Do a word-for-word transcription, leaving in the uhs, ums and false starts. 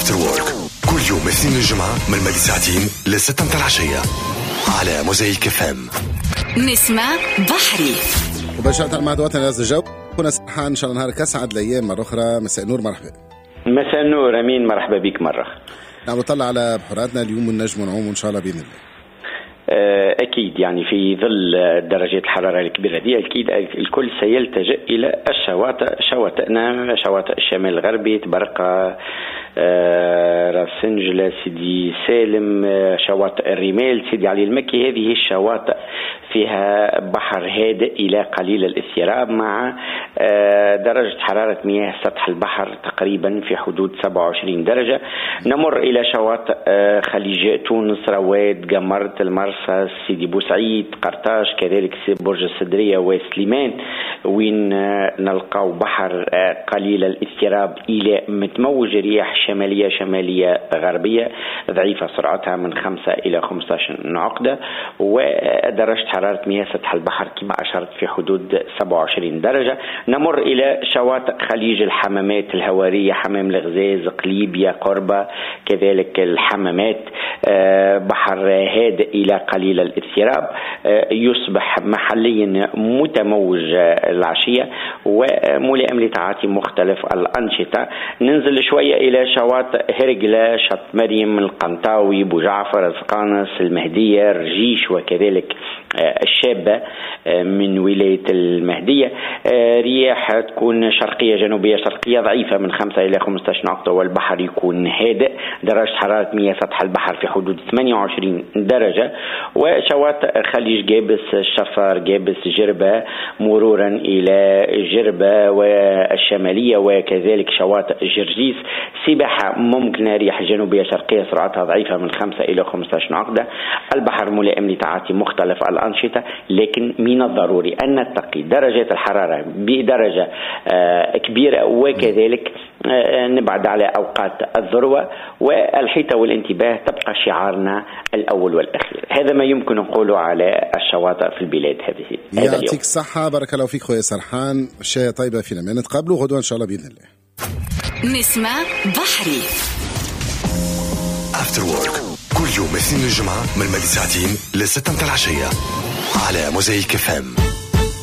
After Work كل يوم اثنين الجمعة من ماضي ساعتين لستة متاع العشية على موزايك اف ام. نسمة بحري. مباشرة مع دواتنا ناس الجو كنا سرحان، ان شاء الله نهارك اسعد الايام مرة اخرى. مساء النور، مرحبا. مساء النور امين، مرحبا بك مرة. نعم، نطلع على بحوراتنا اليوم ونجم نعوم ان شاء الله باذن الله. أكيد يعني في ظل درجات الحرارة الكبيرة دي أكيد الكل سيلتجئ إلى الشواطئ، شواطئنا شواطئ الشمال الغربي، تبرقة، راس سنجلة، سيدي سالم، شواطئ الرمال، سيدي علي المكي. هذه الشواطئ فيها بحر هادئ إلى قليل الاضطراب مع درجة حرارة مياه سطح البحر تقريبا في حدود سبعة وعشرين درجة. نمر إلى شواطئ خليج تونس، رواد، قمرت، المرسى، سيدي بوسعيد، قرطاج، كذلك برج السدرية وسليمان، وين نلقاو بحر قليل الاضطراب إلى متموج، رياح شمالية شمالية غربية ضعيفة سرعتها من خمسة إلى خمسة عشر عقدة، ودرجة حرارة مياه سطح البحر كما أشرت في حدود سبعة وعشرين درجة. نمر إلى شواطئ خليج الحمامات الهوارية، حمام الغزاز، قليبيا، قربة، كذلك الحمامات، بحر هادئ إلى قليل الاضطراب، يصبح محليا متموج العشية وملائم لتعاطي مختلف الأنشطة. ننزل شوية إلى شواطئ هرقلة، شط مريم، القنطاوي، بوجعفر، القانص، المهدية، الرجيش، وكذلك الشابة من ولاية المهدية. رياح تكون شرقية جنوبية شرقية ضعيفة من خمسة إلى خمسة عشر نقطة، والبحر يكون هادئ، درجة حرارة مياه سطح البحر في حدود ثمانية وعشرين درجة. وشواطئ خليج جابس، الشفار، جابس، جربة، مرورا إلى جربة والشمالية، وكذلك شواطئ جرجيس، سباحة ممكنة، رياح جنوبية شرقية سرعتها ضعيفة من خمسة إلى خمسة عشر عقدة، البحر ملائم لتعاطي مختلف الأنشطة، لكن من الضروري أن نتقي درجات الحرارة بدرجة كبيرة، وكذلك نبعد على أوقات الذروة، والحيطة والانتباه تبقى شعارنا الأول والأخير. هذا ما يمكن نقوله على الشواطئ في البلاد هذه. يعطيك الصحة، بارك الله فيك خويا سرحان، شاية طيبة في الأمان، نتقابلوا غدوة إن شاء الله بإذن الله. نسمة بحري. After Work كل يوم اثنين الجمعة من ماضي ساعتين لستة متاع العشية على موزايك اف ام.